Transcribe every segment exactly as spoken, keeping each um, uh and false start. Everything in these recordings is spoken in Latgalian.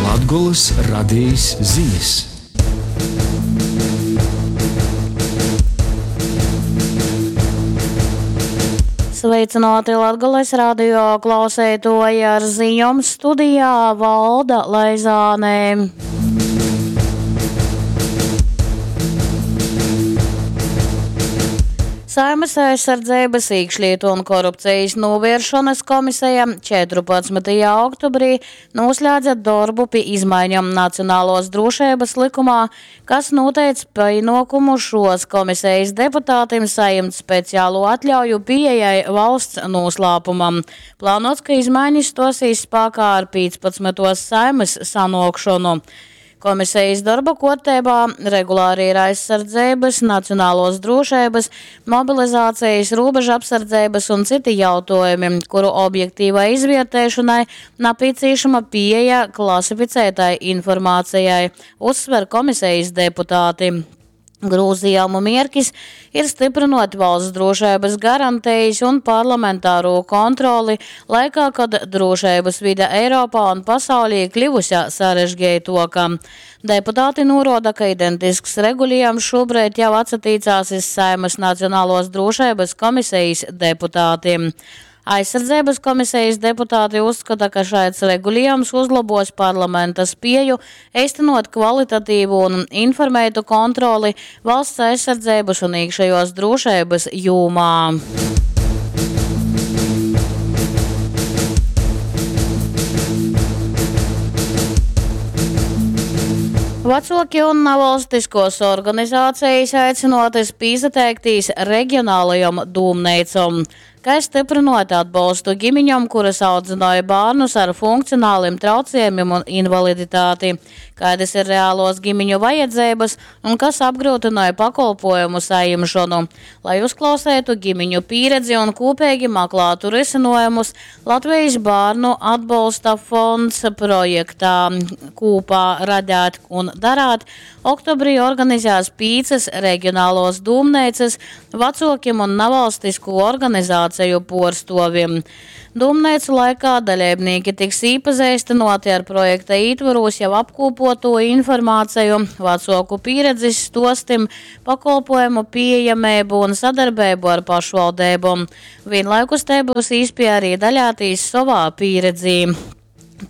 Latgolys radejis zinis. Sveicināti Latgales radio klauseitoji ar ziņom studijā Valda Laizāne. Saeimas aizsardzeibys, īkšlītu un korupcejis nūvieršonys komiseja četrupadsmytajā oktobrī nūslēdze dorbu pi izmaiņom Nacionaluos drūšeibys lykumā, kas nūteic pīnuokumu šuos komisejis deputatim sajimt specialū atļauju pīejai valsts nūslāpumam. Plānuots, ka izmainis stuosīs spākā ar pīcpadsmytuos Saeimys sanuokšonu. Komisejis dorba kuorteibā regulāri ir aizsardzeibys, nacionaluos drūšeibys, mobilizācejis, rūbežapsardzeibys un cyti jautuojumi, kuru objektīvai izvierteišonai napīcīšama pīeja klasificētai informācejai, uzsver komisejis deputāti. Grūzījumu mierkis ir stiprinot valsts drošības garantijas un parlamentāro kontroli laikā, kad drošības vide Eiropā un pasaulī kļuvusi sarežģītāka. Deputāti noroda, ka identisks regulējums šobrīd jau atsatīcās iz Saeimas Nacionālos drošības komisijas deputātiem. Aizsardzības komisijas deputāti uzskata, ka šāds regulējums uzlabos parlamenta spēju īstenot kvalitatīvu un informētu kontroli valsts aizsardzības un iekšējos drošības jomā. Vecoki un nevalstiskos organizācijas aicinoties pīsateiktīs reģionālajom dūmneicom, kai stiprinot atbalstu ģimiņom, kuras audzināja bērnus ar funkcionāliem traucējumiem un invaliditāti, kādas ir reālos ģimiņu vajadzības un kas apgrūtināja pakolpojumu saņemšanu. Lai uzklausētu ģimiņu pieredzi un kopīgi meklētu risinājumus, Latvijas bērnu atbalsta fonds projektā Kopā radēt un darāt oktobrī organizēs pīcas reģionālos dūmneicas vecokiem un nevalstisku organizāciju porstoviem. Dūmneicu laikā dalībnieki tiks īpazīstināti ar projekta ītvaros jau apkopoto informāciju, vecoku pieredzes stostim, pakolpojumu pieejamību un sadarbību ar pašvaldībām. Vienlaikus te būs īspēja arī daļātīs savā pieredzī.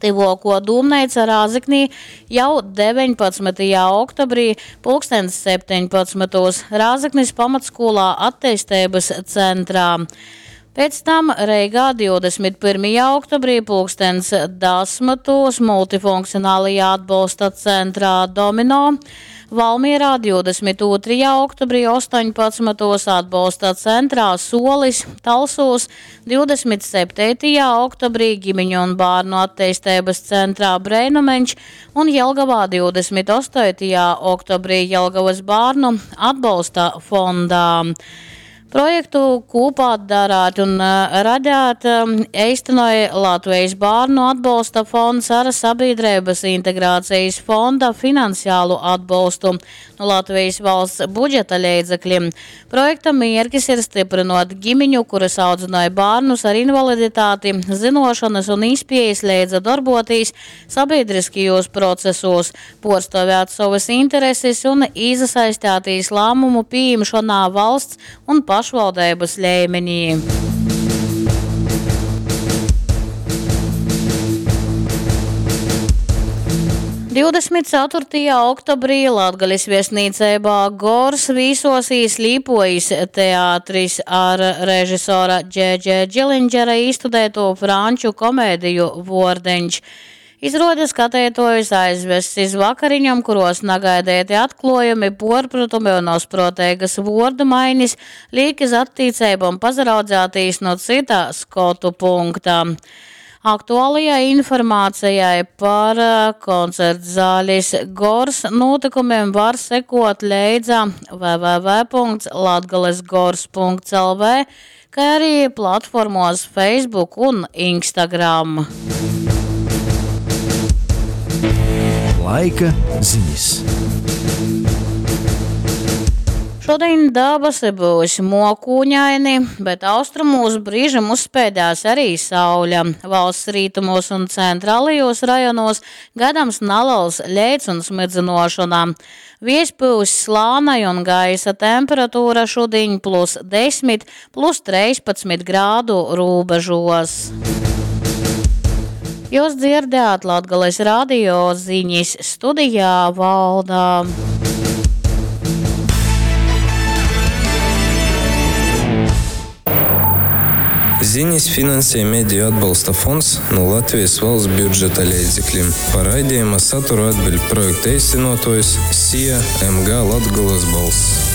Tivoko dūmneica Rāzeknī jau deviņpadsmitajā oktobrī pulkstens septiņpadsmitos Rāzeknis pamatskolā attīstības centrā. Pēc tam Reigā divdesmit pirmajā oktobrī pulkstens desmitos multifunkcionālajā atbalsta centrā Domino, Valmierā divdesmit otrajā oktobrī astoņpadsmitos atbalsta centrā Solis, Talsūs, divdesmit septītajā oktobrī ģimeņu un bērnu attīstības centrā Breinumeņš un Jelgavā divdesmit astotajā oktobrī Jelgavas bērnu atbalsta fondā. Projektu kopā darāt un, eh, radāt, eh, īstenoja Latvijas bērnu atbalsta fonds ar Sabiedrības integrācijas fonda finansiālu atbalstu no Latvijas valsts budžeta līdzekļiem. Projekta mērķis ir stiprinot ģimiņu, kuras audzināja bērnus ar invaliditāti, zinošanas un īspējas leidza darboties sabiedriskajos procesos, porstāvēt savas intereses un iesaistīties lēmumu pieņemšanā valsts un pašvaldības līmenī. Divdesmit ceturtajā oktobrī Latgales viesnīcībā Gors vīsosīs Līpojas teātris ar režisora Dž Dž Džilindžera īstudēto franču komēdiju Vordeņš. Izrāde skatētojus aizvests iz vakariņam, kuros nagaidēti atklājumi, porpratumi un osprotēgas vordu mainis, liek iz attīcībām pazaraudzētīs no cita skotu punkta. Aktuālajai informācijai par, eh, koncertzāles Gors notikumiem var sekot leidza w w w punkts latgales gors punkts l v, kā arī platformos Facebook un Instagram. Laika ziņas. Šodien dabasi būs mokūņaini, bet austrumos brīžam uzspēdēs arī sauļa. Valsts rītumos un centrālajos rajonos gaidāms neliels leits un smidzinošana. Viejs pūs slānai un gaisa temperatūra šodien plus desmit, plus trīspadsmit grādu robežos. Jūs dzirdējāt Latgales radio ziņas studijā Valda. Ziņas finansē Mediju atbalsta fonds no Latvijas valsts budžeta līdzekļiem. Par raidījuma saturu atbild projekta īstenotājs SIA M G Latgolas balss.